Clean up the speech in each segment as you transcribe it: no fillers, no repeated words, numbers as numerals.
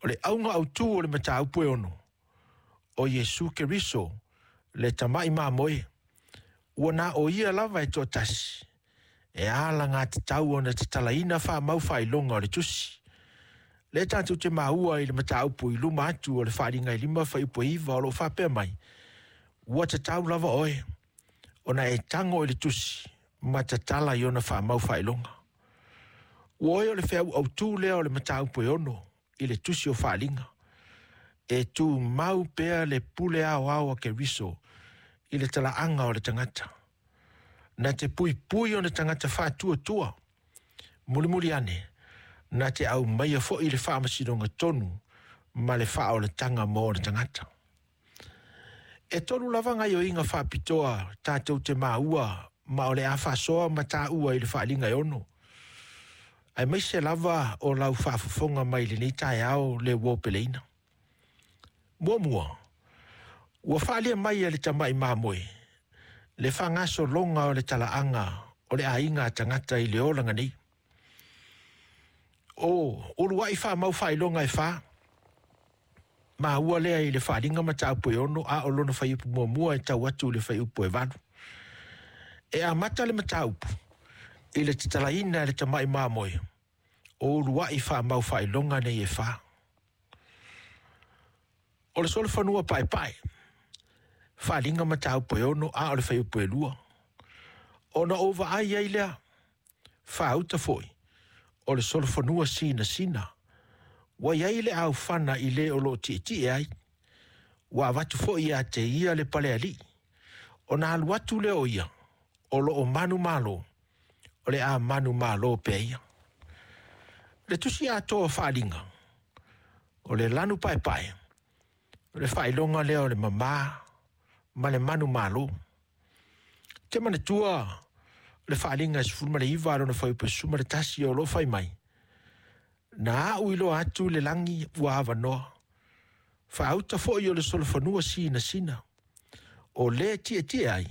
O le auga autū o le mataupu e 6, o Iesu Keriso, le tamai mamoe, ua na o ia lava e toatasi, e alagatatau ona tatalaina faamau faailoga o le tusi. Lea tatou te maua i le mataupu i luma atu o le Faaaliga e 5 fuaiupu e 9 o lo o faapea mai, ua tatau lava oe ona e tago i le tusi ma tatala i ona faamau faailoga. Ua oe o le feau autū lea o le mataupu e 6 i le tusi o Faaaliga. E tumau pea le pule aoao a Keriso i le talaaga o le tagata. Na te puipui ona tagata faatuatua, mulimuli ane, na te aumaia foi le faamasinoga tonu ma le faaolataga mo ona tagata. E 3 lava gaioiga faapitoa tatou te maua ma o le a faasoa ma taua i le Faaaliga e 6. Aemaise lava o lau faafofoga mai lenei taeao le uo peleina. Muamua, ua faalia mai e le tamai mamoe le faagasologa o le talaaga o le aiga a tagata i le olaga nei. O uluai faamau faailoga e 4, maua lea i le Faaaliga mataupu e 6 a o lona fuaiupu muamua e tau atu i le fuaiupu e 8. E amata le mataupu i le tatalaina e le tamai mamoe o uluai faamau faailoga nei e 4. O le solofanua paepae, Faaaliga mataupu e 6 a o le fuaiupu e 2. Ona ou vaai ai lea, faauta foi, o le solofanua sinasina, ua i ai le aufana i le o lo o tietie ai, ua avatu foi ia te ia le palealii, ona alu atu lea o ia, o lo o manumalo, o le a manumalo pea ia. Le tusi atoa o Faaaliga, o le lanu paepae, o le faailoga lea o le mama ma le manumalo. Te manatua le Faaaliga 19 a lona fuaiupu 11 o lo o fai mai, na au iloa atu le lagi ua avanoa, faauta foi o le solofanua sinasina, o le tietie ai,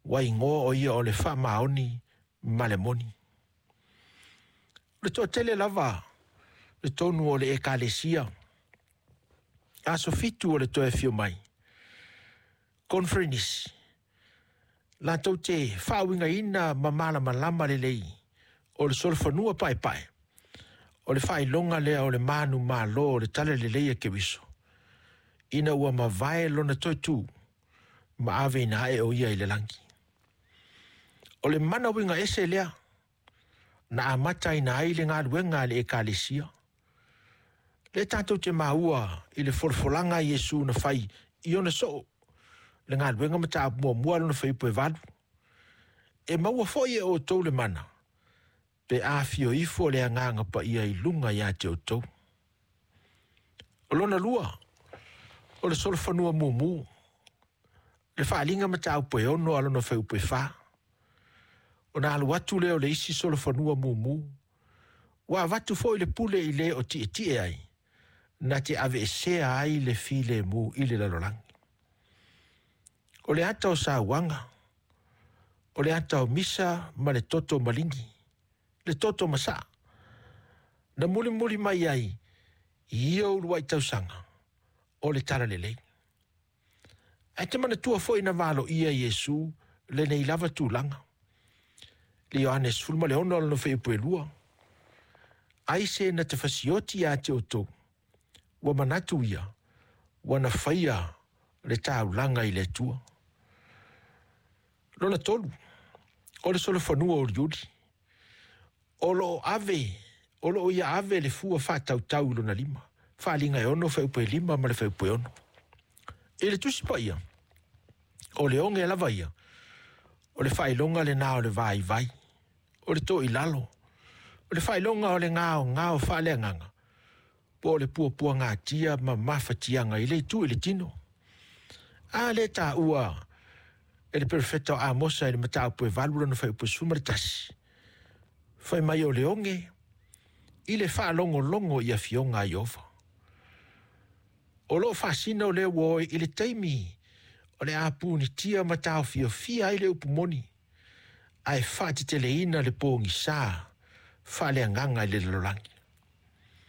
ua igoa o ia o le faamaoni ma le moni. O le toatele lava le tonu o le ekalesia, aso 7 o le toe afio mai, conference, latou te faauigaina ma malamalama lelei o le solofanua paepae, o le faailoga lea o le manumalo o le talalelei a Keriso, ina ua mavae lona toe tu ma aveina ae o ia i le lagi. O le mana uiga ese lea na amataina ai le galuega a le ekalesia. Le tatou te maua i le folafolaga a Iesu na fai i ona soo, le galuega mataupu muamua lona fuaiupu e 8. E maua foi e outou le mana, pe afio ifo le agaga paia i luga ia te outou. O lona lua, o le solofanua mumu, le Faaaliga mataupu e 6 a lona fuaiupu e 4. Ona alu atu lea o le isi solofanua mumu, ua avatu foi le pule i le o tietie ai, na te aveesea ai le filemu i le lalolagi. O le ata o sauaga, o le ata o misa ma le toto maligi, le toto masaa, na mulimuli mai ai i ia uluai tausaga o le talalelei. Ae te manatua foi na valoia Iesu lenei lava tulaga. Le Ioane 16 lona fuaiupu e 2. Ai se na te fasioti ia te outou, ua manatu ia, ua na faia le taulaga i le Atua. Lona 3, o le solofanua uliuli, o lo o ia ave le fua faatautau i lona lima. Faaaliga e 6 fuaiupu e 5 ma le fuaiupu e 6. I le tusi paia, o le oge lava ia, o le faailoga lena o le vaivai, o le toilalo, o le faailoga o le gaogao faaleagaga, po o le puapuagatia ma mafatiaga i le itu i le tino. A le taua e le perofeta o Amosa i le mataupu e 8 lona fuaiupu 11, fai mai o le oge i le faalogologo i afioga a Ieova. O lo o faasino lea ua oe i le taimi o le a punitia ma taofiofia ai le upu moni, ae faateteleina le pogisa faaleagaga i le lalolagi.